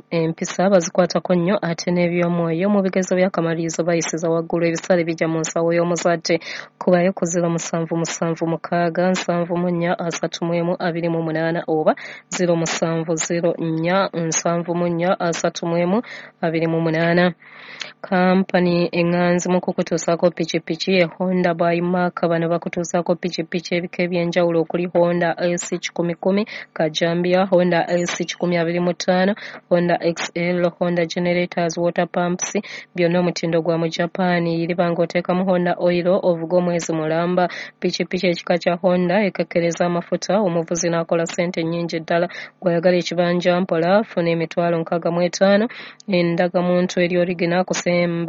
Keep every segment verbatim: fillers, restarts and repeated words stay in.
Empisa bazikwatako nnyo ate n'ebyomwoyo. Mu bigezo by'akamalirizo bayisiza waggulu. Ebisale bijja mu nsawo y'omuzadde. Kubayo ku ziro musanvu musanvu mukaaga nsanvu mu nnya asatu mu emu abiri mu munaana oba ziro musanvu ziro nnya nsanvu mu nnya asatu mu emu abiri mu munaana. Kampani eŋŋanzi mu kukutuusaako pikipiki ye Honda by Mark. Bano bakutuusaako pikipiki ebika eby'enjawulo okuli Honda S kikumi kumi Kajambia, Honda S kikumi abiri mu ttaano, Honda X L, Honda generators, water pumps, byonna omutindo gwa mu Japan. Iriba ng'oteekamu Honda oil ovuga omwezi mulamba. Pikipiki ekika kya Honda ekekkereza amafuta, omuvuzi n'akola ssente nnyingi ddala. Gw'ayagala ekibanja mpola, funa emitwalo nkaaga mu etaano, endagamuntu eri origina,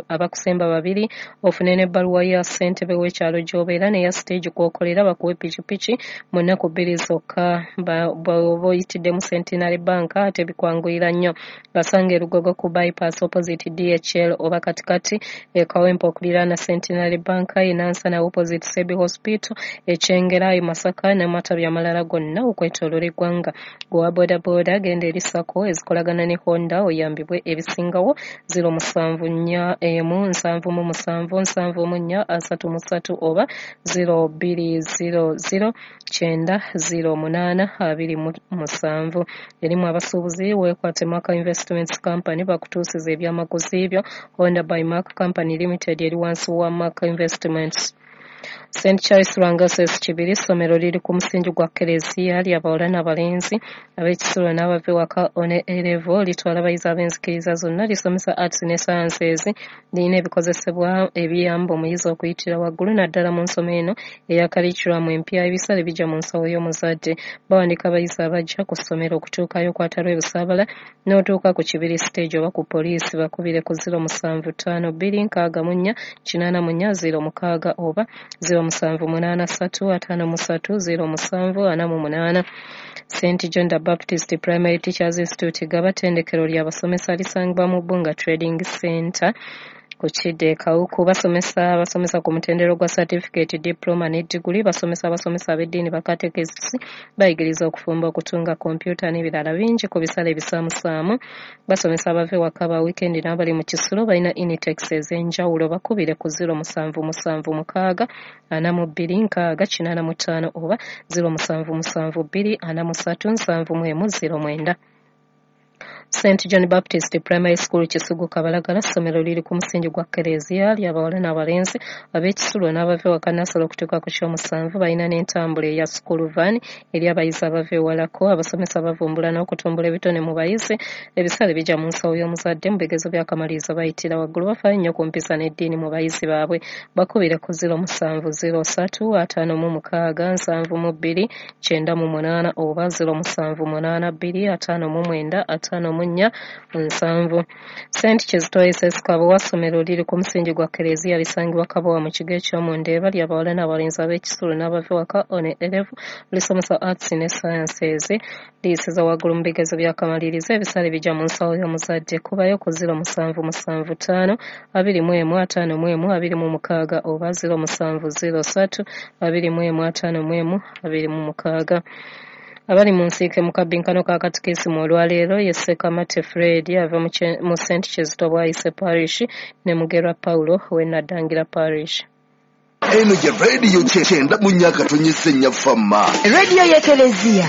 abakusemba babiri, ofune n'ebbaluwa ya ssentebe w'ekyalo gy'obeera n'eya siteegi kw'okolera, bakuwe pikipiki mu nnaku bbiri zokka. Bw'oba oyitiddemu Centenary Bank ate bikwanguyira nnyo. Basanga e Lugogo ku bypass opposite D H L oba katikati e Kawempe okuliraana Centenary Bank, e Nansana opposite Sebi Hospital, e Kyengera, e Masaka n'amatabi amalala gonna okwetooloola eggwanga. Gwe boodabooda genda eri SACCO ezikolagana ne Honda oyambibwe ebisingawo. Ziro musanvu nnya emu nsanvu mu musanvu nsanvu mu nnya asatu mu ssatu oba ziro bbiri ziro ziro kyenda ziro munaana abiri mu musanvu. Erimu abasuubuzi weekwate Mark Investments Company bakutuusiza ebyamaguzi byo. Honda by Mark Company Limited eri wansi wa Mark Investments. Saint Charles Lwanga S S Kibiri, ssomero liri ku musingi gwa Kkereziya ly'abawala n'abalenzi ab'ekisulo n'abava ewaka one A-level, litwala abayizi ab'enzikiriza zonna, lisomesa arts ne sciences, lirina ebikozesebwa ebiyamba omuyizi okuyitira waggulu naddala mu nsoma eno eya curriculum empya. Ebisale bijja mu nsawo y'omuzadde. Bawandiika abayizi abajja ku ssomero okutuukayo kwata lw'ebusaabala n'otuuka ku Kibiri stage oba ku poliisi. Bakubire ku ziro musanvu ttaano bbiri nkaaga mu nnya kinaana mu nnya ziro mukaaga oba ziro musanvu munaana ssatu ataano mu ssatu ziro musanvu ana mu munaana. Saint John the Baptist Primary Teachers Institute Gaba ttendekero ly'abasomesa lisangibwa mu Bbunga Trading Center ku Kidde Kawuku. Basomesa abasomesa ku mutendera gwa certificate, diploma ne diguli. Basomesa abasomesa ab'eddiini, bakatekisiti, bayigiriza okufumba, okutunga, kompyuta n'ebirala bingi ku bisale ebisaamusaamu. Basomesa abava ewaka ba weekend n'abali mu kisulo. Balina initex ez'enjawulo. Bakubire ku ziro musanvu musanvu mukaaga ana mu bbiri nkaaga kinaana mu ttaano oba ziro musanvu musanvu bbiri ana mu ssatu nsanvu mu emu ziro mwenda. Saint John Baptist Primary School Kisugu Kabalagala, ssomero liri ku musingi gwa Kkereziya ly'abawala n'abalenzi ab'ekisulo n'abava ewaka nnassale okutuuka ku ky'omusanvu. Balina n'entambula eya school van eri abayizi abava ewalako. Abasomesa bavumbula n'okutumbula ebitone mu bayizi. Ebisale bijja mu nsawo y'omuzadde. Mu bigezo by'akamalirizo bayitira waggulu. Bafaayo nnyo ku mpisa n'eddiini mu bayizi baabwe. Bakubire ku ziro musanvu ziro ssatu ataano mu mukaaga nsanvu mu bbiri kyenda mu munaana oba ziro musanvu munaana bbiri ataano mu mwenda ataano mu nnya nsanvu. Saint Kizito S S Kabowa, ssomero liri ku musingi gwa Kkereziya lisangibwa Kabowa mu kigo eky'omu Ndeeba, ly'abawala n'abalenzi ab'ekisulo n'abava ewaka one A-level, lisomesa arts ne sciences, liyisiza waggulu mu bigezo by'akamalirizo. Ebisale bijja mu nsawo y'omuzadde. Kubayo ku ziro musanvu musanvu ttaano abiri mu emu ataano mu emu abiri mu mukaaga oba ziro musanvu ziro ssatu abiri mu emu ataano mu emu abiri mu mukaaga. Abali mu nsiike mu kabbinkano ka katikisimu olwaleero ye Ssekamate Fred ava mu Saint Kizito Bwayise Parish ne Mugerwa Paulo w'e Naddangira Parish. Eno ye rediyo kyenda mu nnya akatonyeze nnya Fama. Rediyo y'Ekereziya.